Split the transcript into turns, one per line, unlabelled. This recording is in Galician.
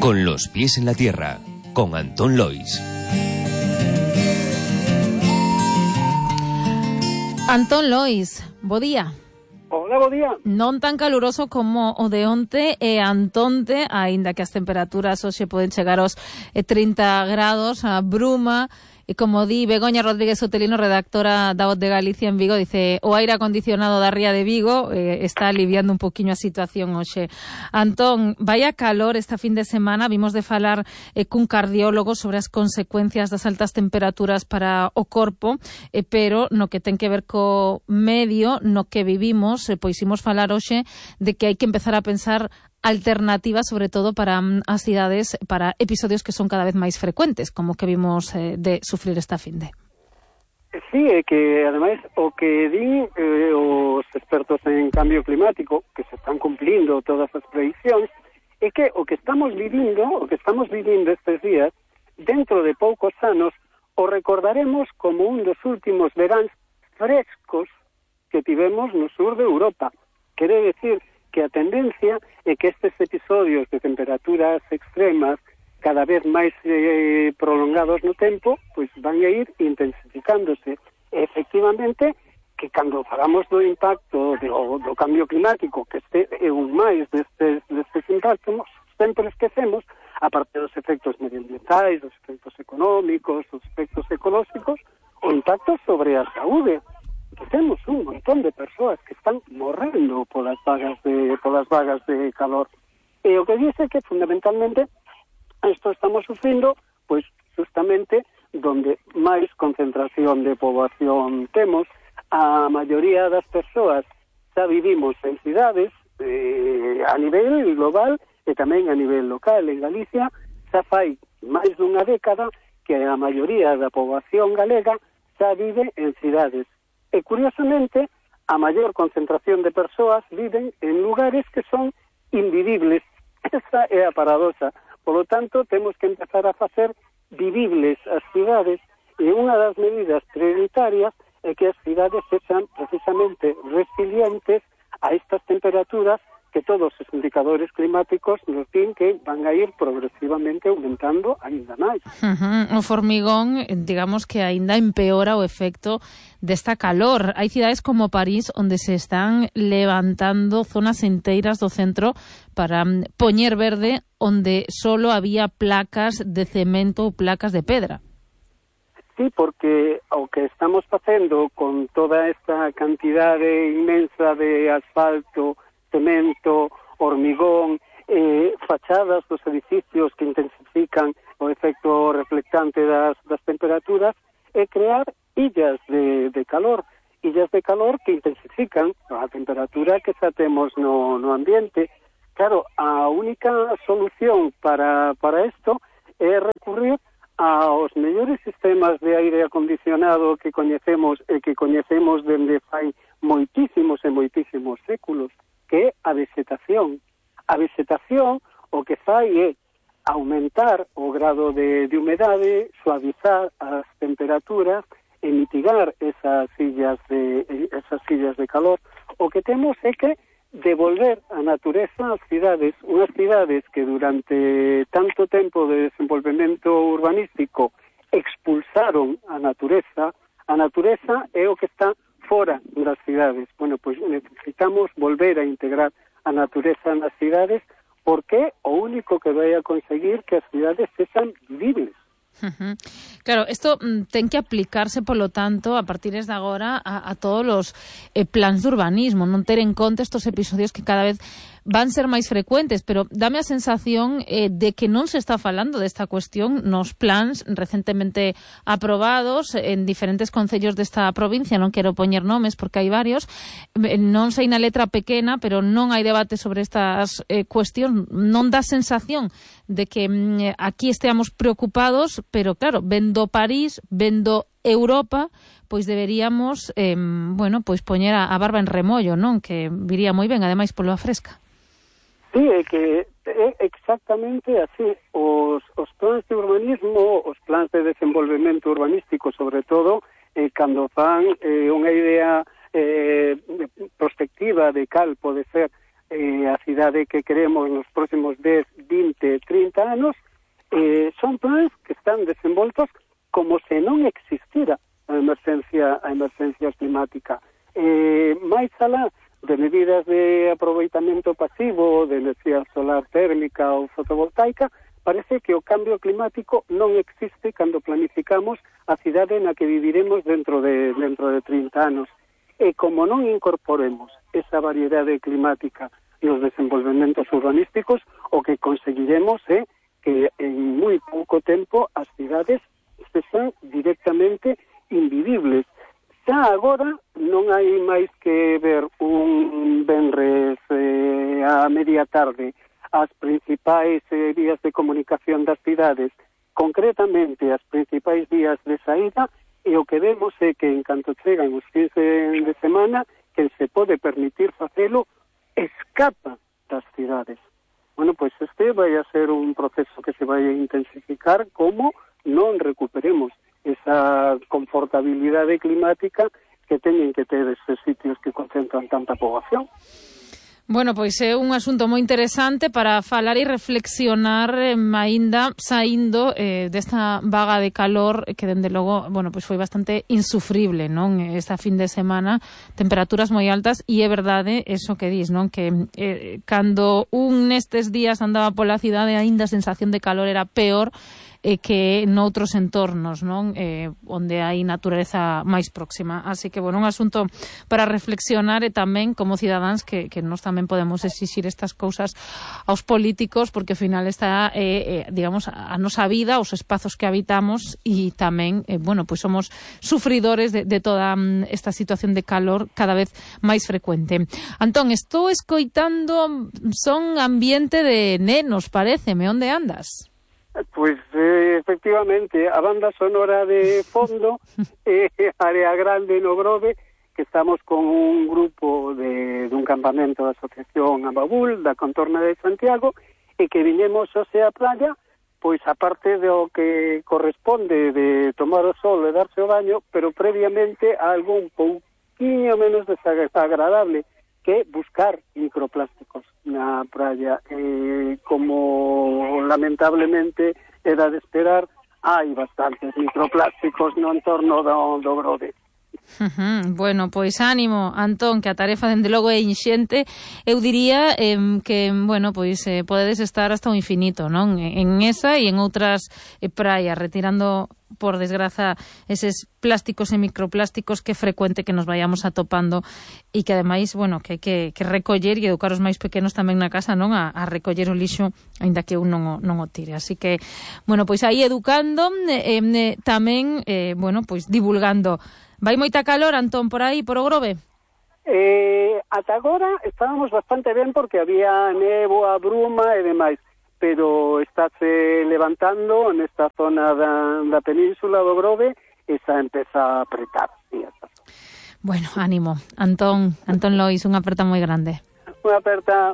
Con los pies en la tierra, con Antón Lois.
Antón Lois, bo día.
Hola, bo día.
Non tan caluroso como o de onte e antonte, aínda que as temperaturas hoxe poden chegar aos 30 grados, a bruma. E como di Begoña Rodríguez Otelino, redactora da Voz de Galicia en Vigo, dice o aire acondicionado da ría de Vigo está aliviando un poquinho a situación hoxe. Antón, vaya calor esta fin de semana, vimos de falar cun cardiólogo sobre as consecuencias das altas temperaturas para o corpo, pero no que ten que ver co medio no que vivimos, pois imos falar hoxe de que hai que empezar a pensar alternativas, sobre todo para as cidades, para episodios que son cada vez máis frecuentes, como que vimos de sufrir esta finde.
Sí, é que ademais o que din os expertos en cambio climático, que se están cumplindo todas as prediccións, é que o que estamos vivindo estes días, dentro de poucos anos, o recordaremos como un dos últimos veráns frescos que tivemos no sur de Europa. Quere decir que a tendencia é que estes episodios de temperaturas extremas cada vez máis prolongados no tempo, pois van a ir intensificándose. Efectivamente, que cando falamos do impacto do cambio climático, que este é un máis destes impactos, sempre esquecemos, aparte dos efectos medioambientais, dos efectos económicos, dos efectos ecolóxicos, o impacto sobre a saúde. Que temos un montón de persoas que están morrendo polas vagas de calor. E o que dice que fundamentalmente isto estamos sufrindo, pois justamente donde máis concentración de poboación temos. A maioría das persoas xa vivimos en cidades a nivel global e tamén a nivel local. En Galicia xa fai máis dunha década que a maioría da poboación galega xa vive en cidades. E, curiosamente, a maior concentración de persoas viven en lugares que son invivibles. Esa é a paradoxa. Por lo tanto, temos que empezar a facer vivibles as cidades, e unha das medidas prioritarias é que as cidades sexan precisamente resilientes a estas temperaturas que todos os indicadores climáticos nos din que van a ir progresivamente aumentando aínda máis.
O formigón, digamos que aínda empeora o efecto desta calor. Hai cidades como París onde se están levantando zonas enteiras do centro para poñer verde onde solo había placas de cemento ou placas de pedra.
Sí, porque o que estamos facendo con toda esta cantidade inmensa de asfalto, cemento, hormigón, fachadas dos edificios que intensifican o efecto reflectante das temperaturas, é crear illas de calor que intensifican a temperatura que xa temos no ambiente. Claro, a única solución para isto é recurrir aos mellores sistemas de aire acondicionado que coñecemos dende fai moitísimos e moitísimos séculos, que é a vegetación. A vegetación o que fai é aumentar o grado de humedade, suavizar as temperaturas e mitigar esas illas de calor. O que temos é que devolver a natureza ás cidades, unhas cidades que durante tanto tempo de desenvolvemento urbanístico expulsaron a natureza é o que está fora das cidades. Bueno, pois necesitamos volver a integrar a natureza nas cidades, porque o único que vai a conseguir que as cidades sexan vivibles.
Claro, isto ten que aplicarse, polo tanto, a partir de agora a todos os plans de urbanismo, non ter en conta estos episodios que cada vez van ser máis frecuentes, pero dame a sensación de que non se está falando desta cuestión nos plans recentemente aprobados en diferentes concellos desta provincia. Non quero poñer nomes porque hai varios, non sei na letra pequena, pero non hai debate sobre estas cuestións. Non dá sensación de que aquí esteamos preocupados, pero claro, vendo París, vendo Europa, pois deberíamos pois poñer a barba en remollo, non? Que viría moi ben, ademais polo a fresca.
Sí, é que é exactamente así. Os plans de urbanismo, os plans de desenvolvemento urbanístico, sobre todo, cando fan unha idea prospectiva de cal pode ser a cidade que queremos nos próximos 10, 20, 30 anos, son plans que están desenvoltos como se non existira a emergencia climática. Máis alá de medidas de aproveitamento pasivo de enerxía solar térmica ou fotovoltaica, parece que o cambio climático non existe cando planificamos a cidade na que viviremos dentro de 30 anos. E como non incorporemos esa variedade climática nos desenvolvementos urbanísticos, o que conseguiremos é que en moi pouco tempo as cidades se son directamente invivibles. Xa agora non hai máis que ver un venres a media tarde as principais vías de comunicación das cidades, concretamente as principais vías de saída, e o que vemos é que en canto chegan os fins de semana, que se pode permitir facelo, escapa das cidades. Bueno, pois este vai a ser un proceso que se vai a intensificar como non recuperemos esa confortabilidade climática que teñen que ter estes sitios que concentran tanta poboación.
Bueno, pois é un asunto moi interesante para falar e reflexionar aínda saindo desta vaga de calor que, dende logo, bueno, pois foi bastante insufrible, non? Esta fin de semana, temperaturas moi altas, e é verdade eso que dis, non? Que cando un nestes días andaba pola cidade, aínda a sensación de calor era peor que noutros entornos, non? Onde hai natureza máis próxima. Así que, bueno, un asunto para reflexionar e tamén como cidadáns que nós tamén podemos exixir estas cousas aos políticos, porque ao final está, digamos, a nosa vida, os espazos que habitamos, e tamén, bueno, pois somos sufridores de toda esta situación de calor cada vez máis frecuente. Antón, estou escoitando son ambiente de nenos, paréceme. Onde andas?
Pois, efectivamente, a banda sonora de fondo Área Grande no Grove, que estamos con un grupo dun campamento da Asociación Ababul, da contorna de Santiago, e que viñemos hoxe á playa, pois aparte do que corresponde de tomar o sol e darse o baño, pero previamente algo un pouquinho menos desagradable, que buscar microplásticos na praia. Como lamentablemente era de esperar, hai bastantes microplásticos no entorno do Grove.
Bueno, pois ánimo, Antón, que a tarefa dende logo é inxente. Eu diría que, bueno, pois podedes estar hasta o infinito, non? En esa e en outras praias, retirando, por desgraza, eses plásticos e microplásticos que é frecuente que nos vayamos atopando, e que ademais, bueno, que hai que recoller e educar os máis pequenos tamén na casa, non? A recoller o lixo, aínda que un non o tire. Así que, bueno, pois aí educando, tamén, bueno, pois divulgando. Vai moita calor, Antón, por aí, por o Grove?
Ata agora estábamos bastante ben porque había néboa, bruma e demais, pero estáse levantando nesta zona da península do Grove e xa empeza a apretar. Sí,
bueno, ánimo. Antón Lois, unha aperta moi grande.
Unha aperta.